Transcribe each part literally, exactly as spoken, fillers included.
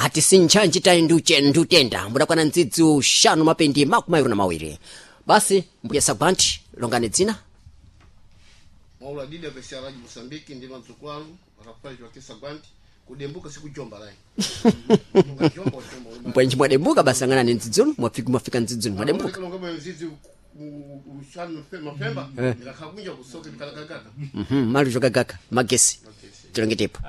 Ati sinchanji tayi ndiuche ndiutenda mudakwana ndzidzi uxanu mapendi makumi awiri na mawiri. Basi mbuya Sagwanti, longani dzina. Mwaula didi ya Radio Mosambiki ndi madzukwalo Rafael Joaquim Sagwanti kudembuka sikujomba lai. Ungajomba ujomba. Mbwenji mwadembuka basi ang'anani ndzidzunu mwafika mwafika ndzidzunu mwadembuka. Ngoma mzizi ushanu mapemba ndakakunja kusoke ndikalakagaka. Mhm, mali zokagaka magesi tilongetepo.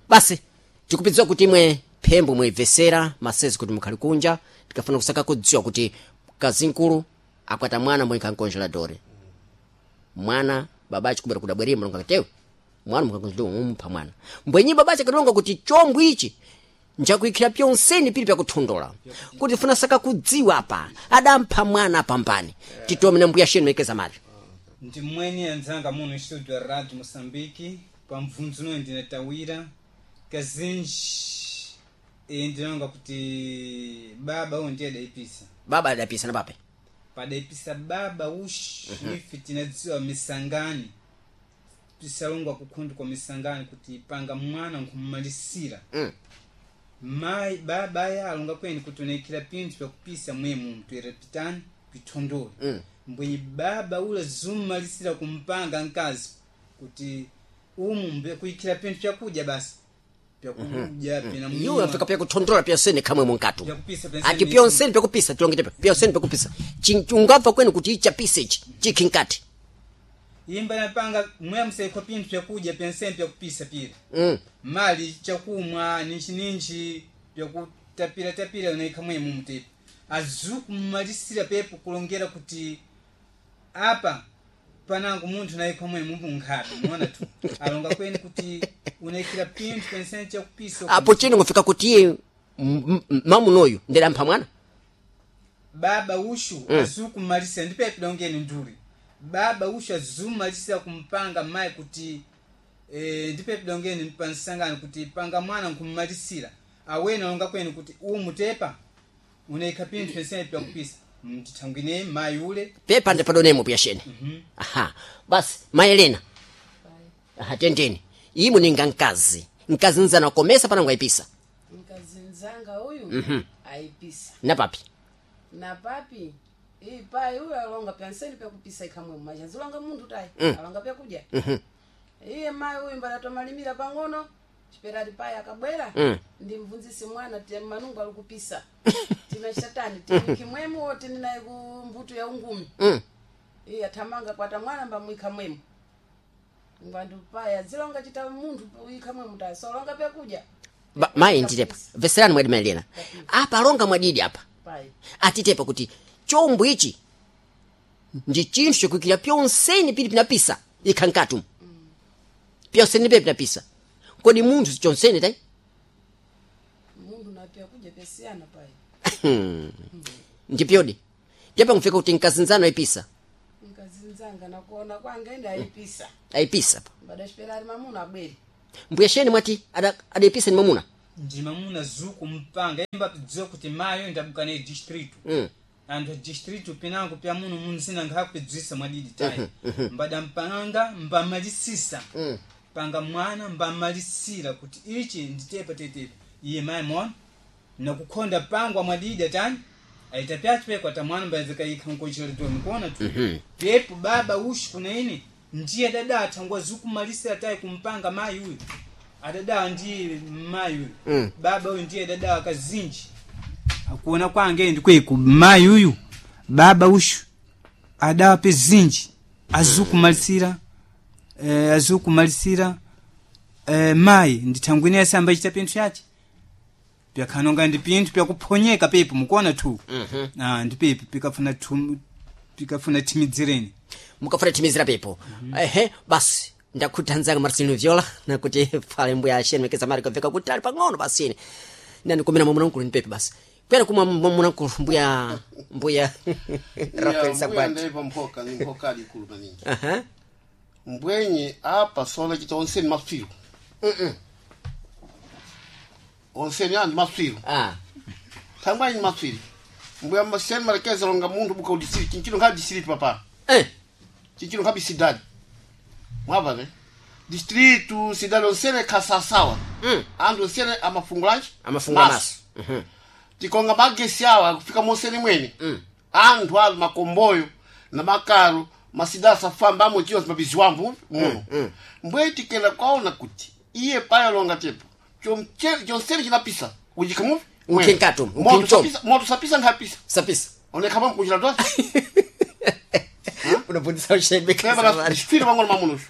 Basi tikupidziwa kuti imwe phembo mwibvesera masezi kuti mukhali kunja, tikafuna kusaka kudziwa kuti kazinkulu akwata mwana mwe nkonjeladore mwana babachi kubera kudabwerera mulonga katewe mwana mukakonjeladore mumupha mwana mbwenyi babachi akatilonga kuti chombwe ichi njakuikhira pyonseni pili pyakuthondola kuti funa saka kudziwa apa adampha mwana pambani titome na mbuya shenu mekeza mali. Ndi mweni anzanga muno studio Radio Mosambiki pa mvunzo uno ndinatawira kazinji e ndinonga kuti baba uyu ndiye adaipisa. Baba adapisa na pape Padaipisa baba ushi ife tinadziwa misangani tisalongwa kukhundu kwa misangani kuti panga mwana nkumumalisira. Mm. Mayi baba aya alonga kweni kuti unaikira pinthu pyakupisa mwemu mtwera pitani pithondole. Mm. Mbwenyi baba ula zumumalisira kumpanga mkazi kuti umu mbe kuikira pinthu pyakudya basi pyakudya pina iwo afika pyakuthondola pyonseni khamwe munkatu Pyakupisa pyonseni. Ati pyonseni pyakupisa tilongetepo pyonseni pyakupisa ungabva kwenu kuti ichapisa ichi chikhi nkati. Imba napanga mwe musaikho pinthu pyakudya pyonseni pyakupisa pira. Mm. Mali chakumwa ninji ninji pyakutapira tapira unaikha mwemu mtepo azukumalisira pepo kulongera kuti apa panangu munthu naikha mwemu munkhabe muona tu alonga kweni kuti unaikira pinthu penseni chakupisa. Apo chino ngofika kuti iye m- m- mamunoyu ndidampha mwana. Baba ushu mm. azukumalisira ndipepo dongeni nduri baba ushu azumalisira kumpanga mayi kuti e, ndipepo dongeni pansangano kuti panga mwana nkumumalisira awene alonga kweni kuti umutepa unaikha pinthu pensene pyakupisa mtithangwine mayi ule. Pepa ndipadonemo puyashene. Aha, basi mayi Elena, aha, tendeni imwe ninga mkazi mkazi nzana wakomesa panango ayipisa. Mkazi nzanga uyu ayipisa. Na papi na papi iyi pai uyu alonga pyanseni pyakupisa ikhamwe mazhazilonga munthu tayi alonga pyakudya iye mayi uyu mbalatomalimira pang'ono chiperati pai akabwera Mm. ndimvunzisi mwana ti manungu ali kupisa tinachatani timwikimwemu wo tini naye ku mbuto ya ungumi. Mm. Iye athamanga kwata mwana mbamwikha mwemu ngwandu pai azilonga chita munthu ikha mwemu tayi solonga pyakudya. Ba- mayi nditepa veserani mwadi mayi Elena apa alonga mwadidi apa pai atitepa kuti chombo ichi ndi chinthu chokuikira pyonseni pili pinapisa ikha nkatu pyonseni pe pinapisa kodi munthu sichonseni tayi. Munthu na pyakudya pyasiyana pai. Ndipyodi tepa ngufika kuti mkazinzano ayipisa. Mkazi nzanga nakuona kwanga ende ayipisa. Ayipisa pa Mbadachipera ali mamuna abwere. Mbuya sheni mwati ada- adayipisa ni mwamuna. Ndi mamuna zukumpanga imba pidziwa kuti mayi uyu ndabuka naye distrito. Mm. Anthu a distrito pinango pya muno munzina nkhakupidzwisa mwadidi tayi mbadampanga mbamalisisa panga mwana mbamalisira kuti ichi nditepa tetepa iye mayi mona nakukhonda pangwa mwadidi atani aita pyacho ata mwana mbayazikayikha nkocheredwa mikuona tu pepo baba ushi kuna ine ndiye dada athangwa zukumalisira tayi kumpanga mayi uyu adada ndiye mayi uyu. Mm. Baba uyu ndiye dada akazinji akuona kwange ndikweku mayi uyu baba ushu adawa pe zinji azukumalisira eh, azukumalisira eh, mayi ndithangwine asamba chita pinthu yache pyakhanonga ndi pinthu pyakuphonyeka pepo mukuona tu. mm-hmm. Ah, ndi pepo pikafuna thum- pikafuna thimidzireni. Mukafuna thimizira pepo. Ehe, basi ndakhuta Marcelino Viola nakuti pale mbuya sheni mekeza mali kamveka kuti ali pang'ono basi ine nanikumira mwamuna mkulu ni pepe basi kwera kumwa mwamuna mkulu mbuya mbuya Rafael Sagwati. Ndaipa mphoka ni mphoka ali ikulu maningi. Aha. Mbwenye apa sola chita onseni mapsiro. Onseni andi mapsiro. Ah. Thangwanyi mapsiro. Mbuya maseni malekeza longa munthu buka udisiri chinchino nkha disiri papa. Eh. Chinchino nkha bisidadi. Mwava ne? Distrito cidade onsene kasasawa. Mm. Anthu onsene amafungulachi Amafungula maso. Tikonga magesi awa kufika monsene mwene. Anthu ali makomboyo na makaro masidade safamba amwe chiyo mabiziwambu muno. Mbwe tikela kwaona kuti iye payo longa tepo chomche- chonsene chinapisa ujikamuvi Ukhinkatu, ukhinchomo. moto sapisa nkhapisa Sapisa. onekhamwa mkuchira twasi Unabundisa ushebe chifire pang'ono mamunoxo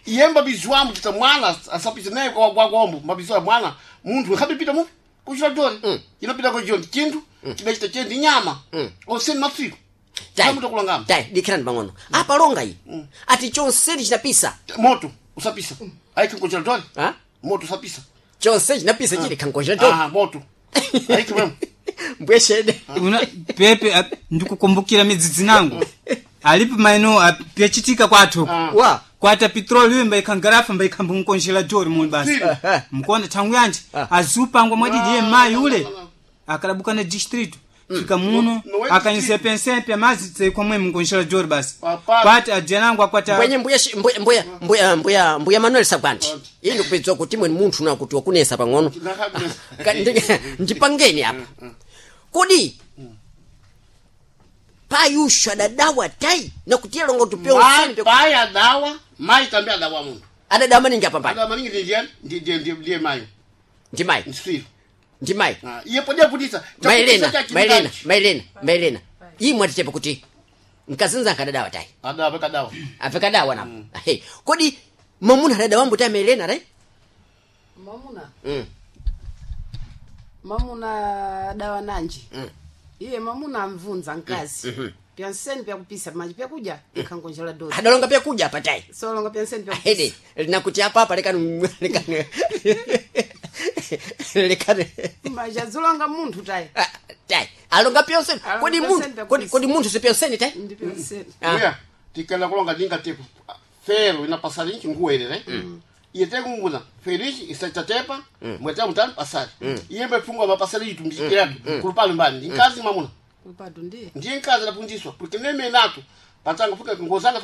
iye mbabizi wambu chita mwana asapisa naye kwakwombo mbabizi wa mwana munthu nkhabipita mu kuchira dori inapita kujoni chinthu chidachita che ndi nyama oseni matsiku Tai. tamutokulangama Tai, dikhirani pang'ono. Apa longa iyi. Ati chonseni chinapisa. moto usapisa aiki nkuchira dori Ha? moto usapisa Chonseni chinapisa chili khangoja to. Ah, moto aiki mwemo Mbuye shede. Una pepe ap- ndikukumbukira midzidzi nangu alipo maino ap- pyachitika kwathu Ah. Wa. kwata petroli mbaikangarafa mbaikhamba dori muli basi Ah. mkonda thangu yanje Ah. azupangwa mwadidi ye mayi ule no, no. akalabuka na distrito fika muno No, no, akanyisa pensempe amazi tseikwa mwe mkonjela dori basi Papa. kwati ajenangu akwata Mbwenye mbuya shi- mbuya mbuya mbuya mbuya mbuya Manuel Sagwanti. Iye ndikupedzwa kuti mwe munthu na kuti wakunesa pang'ono. Ndakhakunesa. Ka- ndi- Ndipangeni apa. Kodi payusha adadawa tai nakuti longa kuti pyonseni pya- pai adawa mayi tambi adawa munthu adadawa maningi apa pali. adawa maningi ndiye ndiye ndiye ndiye mayi Ndi mayi. msiro Ndi mayi. iye podia kutisa Maelena, Maelena, Maelena, Maelena. Imwe atichepa kuti mkazinza akadadawa tai. adawa pekadawa Apekadawa napo. Ahe. Kodi mamuna adadawa mbuta Maelena tai? Mamuna. Mm. Mamuna dawa nanji. Iye mamuna amvunza nkazi. Pyanseni pyakupisa maji pyakudya ikhangonjela dori. Adalonga pyakuja apa tai. Solonga pyanseni Ahede, pyakupisa. nakuti apa apa lekani lekani. Lekani. Maji azulonga munthu tai. Ah, Tai. Alonga pyonseni. Alonga Kodi pyonseni munthu pyakupisa. kodi kodi munthu sipyonseni tai? Ndi pyanseni. Ah. Uya, tikela kulonga dinga tepo fero inapasali nchi nguwerere iye tekunguna fero ichi isachatepa mweta mutani pasali iye mbefungwa mapasali itu mchikiratu kulupali mbani ndi nkazi mamuna Kupatu ndiye. ndiye nkazi adapundiswa porque neme nato patanga fuka ngozanga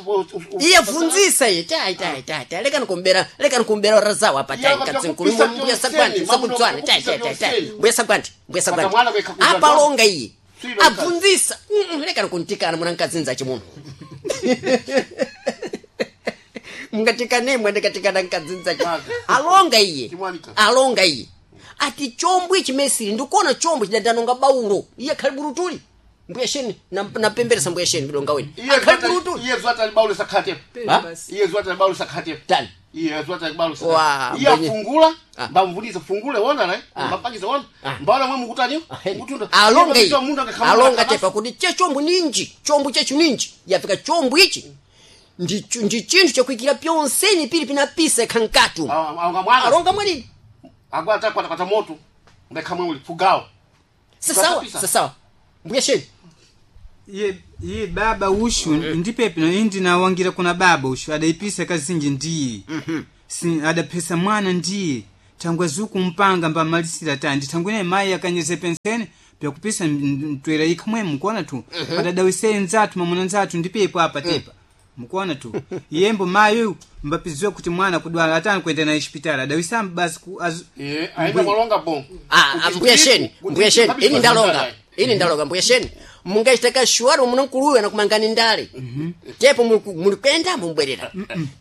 Iye funzisa iye tai tai tai tai lekani kumbera lekani kumbera razawa apa tai Iye katsinkulu akapita mbuya kupisa sagwanti pyonseni, sakudzwana mamuna tai tai tai tai kupisa mbuya sagwanti mbuya sagwanti Pata mwana kwekha kudya apa longa iye Silo abvunzisa Mm, mm, lekani kuntikana muna nkadzinza chimuno mungatikanемwe ndikatikana nkadzinza chi Mwazi. alonga iye Chimwanika. alonga iye ati chombwe chimesiri ndikuona chombwe chidandanonga baulo iye khali burutuli mbuya sheni napemberesa mbuya sheni vilonga weni akhali burutuli iye zwata libaulu sakhatepo Ha? Basi. iye zwata libaulu sakhatepo tani iye zwata libaulu Wa, iye mbwenye. afungula Ah. mbamvunisa fungule wona le Ah. mbapangiza wona Ah. mbaona mwe mukutani mutunda alonga Iye iyi mundu angakhamula alonga kabasa. tepa kuti che chombo ninji chombo chechu ninji yafika chombo ichi ndi chu- ndi chinthu chakuikira pyonseni pili pinapisa ikhankatu Ah, alonga mwana alonga mwanini agwata kwata kwata moto ndakhamwe uli fugawo sasawa Kapisa. sasawa mbuya sheni iye iye baba ushu ndipepe no indi nawangira kuna baba ushu adaipisa kazinji ndiye si adaphesa mwana ndiye thangwe zukumpanga mbamalisira tandi thangwe naye mayi akanyeze pensene pyakupisa mtwera ikhamwe mukuona tu padadawiseye nzathu mamuna nzathu ndipepo apa tepa mukuona tu yembo mayi uyu mbapiziwe kuti mwana kudwala atani kuenda naye chipitali adawisamba basi ku azu- iye aenda malonga bon Ah, ah, mbuya sheni mbuya sheni ini ndalonga ini ndalonga mbuya sheni mungachita kashuwari muna nkuluwe nakumangani ndale tepo muli- muli kwenda mumbwerera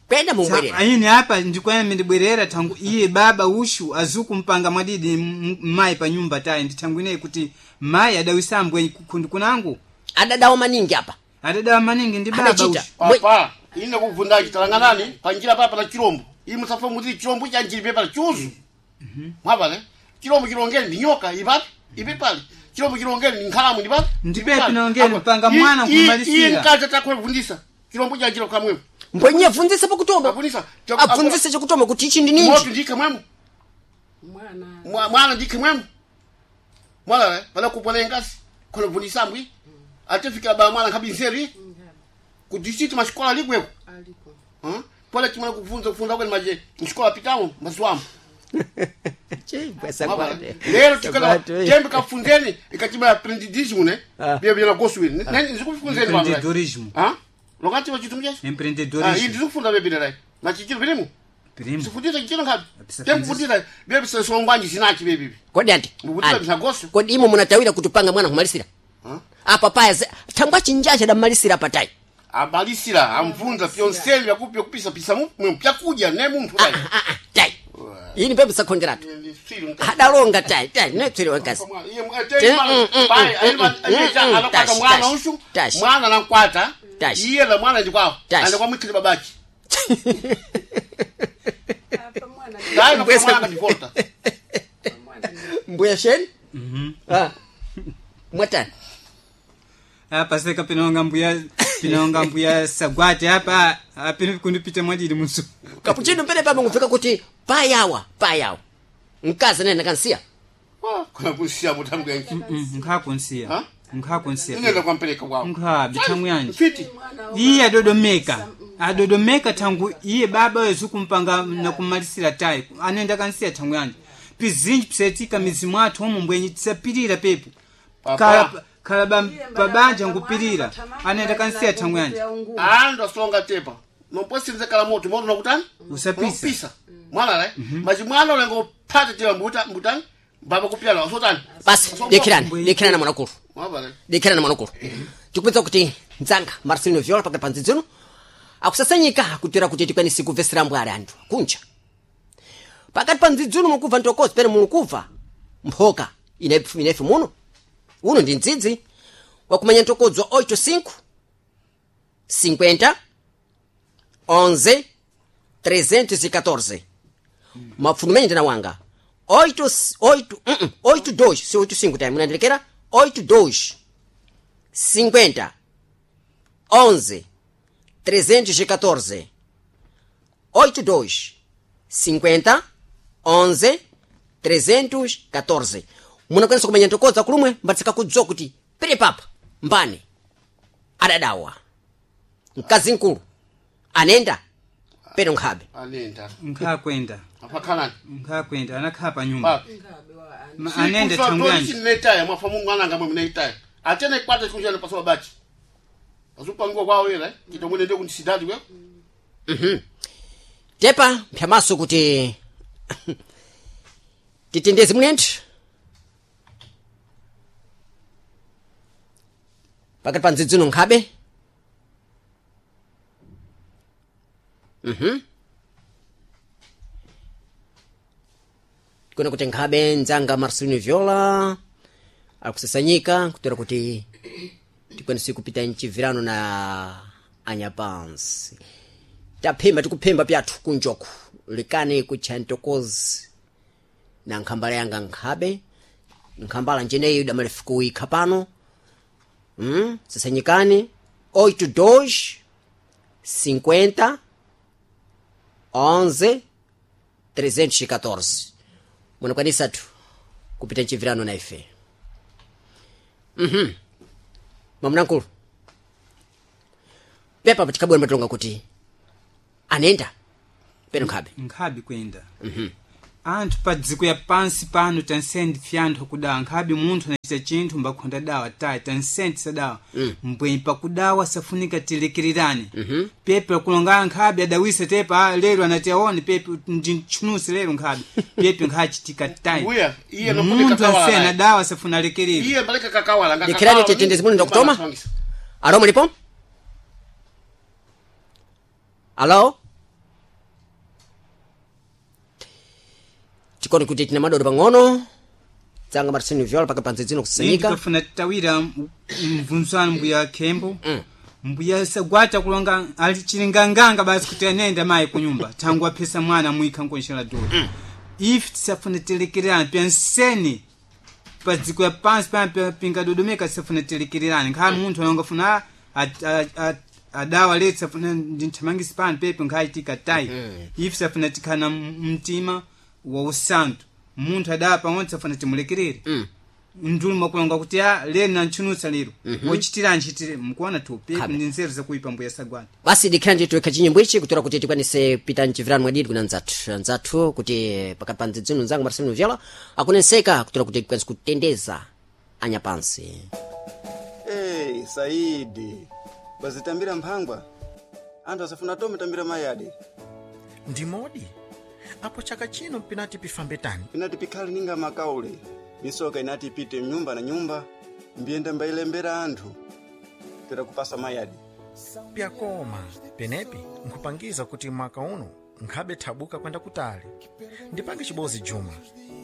kwenda mumbwerera aini apa ndikwayame ndibwerera thangu iye baba ushu azukumpanga mwadidi m- mayi pa nyumba tayi ndi thangu ineyi kuti mayi adawisambwe kundi kunangu adadawa maningi apa adadawa maningi ndi baba Adachita. ushu papa ine kuvunda chitalanganani panjira papa na chirombo iyi musafa muti chirombo chanjiri pepa chuzu mwapa ne chirombo chilongeni ndi nyoka ipapi ipi pali chirombo chilongeni ndi nkhalamu ndi papi Ndipepi nongeni, panga mwana kumalisira nkumalisira. mkazi atakhola kuvundisa chirombo chanjira kamwemo mbwenye abvunzise pakutoma abvundisa abvunzise chakutoma kuti ichi ndi moto ninji ndikhe mwemo Mwana. Mwa- mwana ndikhe mwemo mwana le pala kupona engasi khola kuvundisa mbwi atifikira ba mwana nkhabi nzeru ku district masikola likweko Aliko. Hã? Pole chimwana kuvunza kufunda kwene maje msikola pitamo mazuwamo lero tikala tembe kafunzeni ikachima aprendidismo ne Ah. bia bia gosto ne ne ndikufunzeni baba Empreendedorismo. ha lokati wa chitumja ah empreendedorismo ndikufunda bebira rai machichiro bilimu Primo. Sifundisa chino ngapi? Apisa Temkufundisa bebe songwanji sinachi bebe. Kodi anti Mukutira anti, msagoso. kodi imo munatawira kutupanga mwana kumalisira Huh? apa paya ze- thangwa chinjacha adamalisira patai Abalisira amvunza fyonseli yakupya kupisa pisa mu pyakudya ne munthu Ah, dai. ah, ah, tai ini pepe sakhonjeratu adalonga tai tai netswere wekazi Te- mm, mm, mm, mm, mm, anakwata tashi, mwana tashi, ushu tashi. mwana nankwata Tashi. iye na mwana ndikwawo Tashi. andikwamwikile babachi Apa mwana dai Mbwesa- mwana kandivolta mwana mbuya sheni Ah. mwatani apa seka pinonga mbuya pinonga mbuya sagwati apa apino kundipita mwadidi musu kapuchino pene pamwe ngupfeka kuti payawa payawa mkazi nene nakansiya kuna kusiya mutamgenki nkhakunsiya Ha? nkhakunsiya inenda kwampereka kwawo nkhabi thangu yanje mfiti iye adodomeka adodomeka thangu iye baba wezu kumpanga nakumalisira tayi anenda kansiya thangu yanje pizinji pisetika mizi mwathu umu mbwenyi tisapirira pepo Papa. khala khala ba- pabanja nkupirira anenda kansiya thangu yanje andu asonga tepa nomposinze kala moto moto nakutani Usapisa. unopisa mwana lai machi mwana ulengo phata tepa mbuta mbutani mbaba kupyala wasotani basi dekherani dekherani mwanakulu mwabale dekherani mwanakulu tikupedza kuti mdzanga marcelino viola pakati pa ndzidzino akusasanyika kutera kuti tikwanise kubvesera mbwali anthu kunja pakati pa ndzidzino mukubva ntokozi pene mukubva mphoka inefe inefe muno uno ndi mdzidzi wakumanya ntokodzo oito cinco cinquenta onze trezentos e catorze mapfuno menye ndina wanga oito oito uh -uh, oito dois se oito cinco tai munandirekera oito dois cinquenta onze trezentos e catorze oito dois cinquenta onze trezentos catorze munakwanisa kumenya ntokodza kulumwe mbatsika kudziwa kuti pere papa mbani adadawa mkazi mkulu anenda peno nkhabe anenda nkhakwenda apakhalani nkhakwenda anakhala pa nyumba papi Ma- anenda thangu yanje netaya mwafa mungu ananga mwe mneitaya atene kwata chikunjana paso babachi pasupangiwa kwawo yela kitomwene ndi kundisidati kwe tepa mphyamaso kuti titendeze munenthu pakati pa ndzidzino nkhabe mhm kuna kuti nkhabe ndzanga marcelino viola akusasanyika kutera kuti tikwanise kupita mchivirano na anyapansi taphemba tikuphemba pyathu kunjoku likani kutcha ntokozi na nkhambala yanga nkhabe nkhambala njeneyi damalefu kuikha pano mm? sasanyikani oito dois cinquenta onze trezentos e catorze munakwanisatu kupita mchivirano na ife mhm mamunankulu pepa patikabwera matilonga kuti anenda peno nkhabe nkhabi kwenda anthu pa dziko ya pansi pano tansendi fyanthu akudawa nkhabi munthu anachita chinthu mbakhonda dawa tayi tansendi sadawa mbwenyi pakudawa safunika tilekererane pepe akulonga nkhabi adawisa tepa "Ah, lero anati aone pepe ndintchunusi lero nkhabi pepe nkhachitika tayi Mbuya, iye nokuti munthu kakawala ansena naye. dawa safuna alekerere iye mbaleka kakawala nga Dikirani kakawala, tetendezi muno ndakutoma? Mbala alo mulipo alo tikoni kuti tina madodo pang'ono dzanga marcelino viola paka panze dzino kusasanyika ndikafuna tawira mvunzano mbuya khembo mbuya sagwata kulonga ali chilinganganga basi kuti anenda mayi kunyumba thangu aphesa mwana mwikha nkonxela dolo ife tisafuna telekererana pyanseni pa dziko ya pansi pano pingadodomeka tisafuna telekererana nkhala munthu anongafuna adawa leti safuna ndinthamangisi pano pepe nkhachitika tayi ife safuna tikhana mtima wa usantu munthu adawa pang'ono safuna timulekerere ndulu mwakulonga kuti a lero nantchunutsa lero wochitira nchitire mukuona tu pepe ndi nzeru zakuipa mbuya sagwati basi dikhira ndithu ikha chinyimbo ichi kutora kuti tikwanise pita mchivirano mwadidi kuna nzathu nzathu kuti pakati pa ndzidzino nzanga marcelino viola akunenseka kutora kuti tikwanise kutendeza anyapansi Hey, Saidi, wazitambira mphangwa anthu asafuna tome tambira mayadi Ndimodi Apo chaka chino pinati pifambe tani? Pinati pikhale ninga makaule misoka inati ipite nyumba na nyumba mbiyenda mbayilembera anthu pera kupasa mayadi. Pyakoma penepi nkhupangiza kuti mwaka uno nkhabe thabuka kwenda kutali. Ndipange chibozi Juma,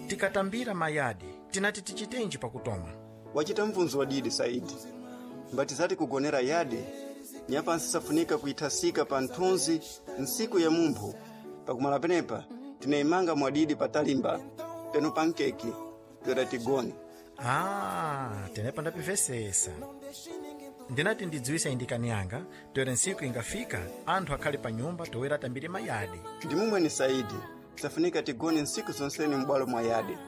tikatambira mayadi tinati tichitenji pakutoma? Wachita mvunzo wadidi Saidi, mbati zati kugonera yadi nyapansi safunika kuithasika pa nthunzi nsiku ya mumphu. Pakumala penepa tinayimanga mwadidi patalimba peno pa nkeke toera tigone. Ah, tenepa ndapivesesa. Ndinati ndidziwise indikani yanga toera ntsiku ingafika anthu akhale pa nyumba toera atambire mayadi. Ndimumweni Saidi, safunika tigone nsiku zonseni m'bwalo mwa yadi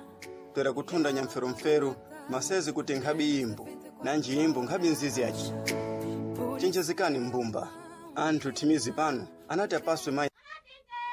toera kuthunda nyamferumferu masezi kuti nkhabi imbo nanji imbo nkhabi nzizi yaci. Chenjezekani mbumba anthu thimizi pano anati apaswe mayi.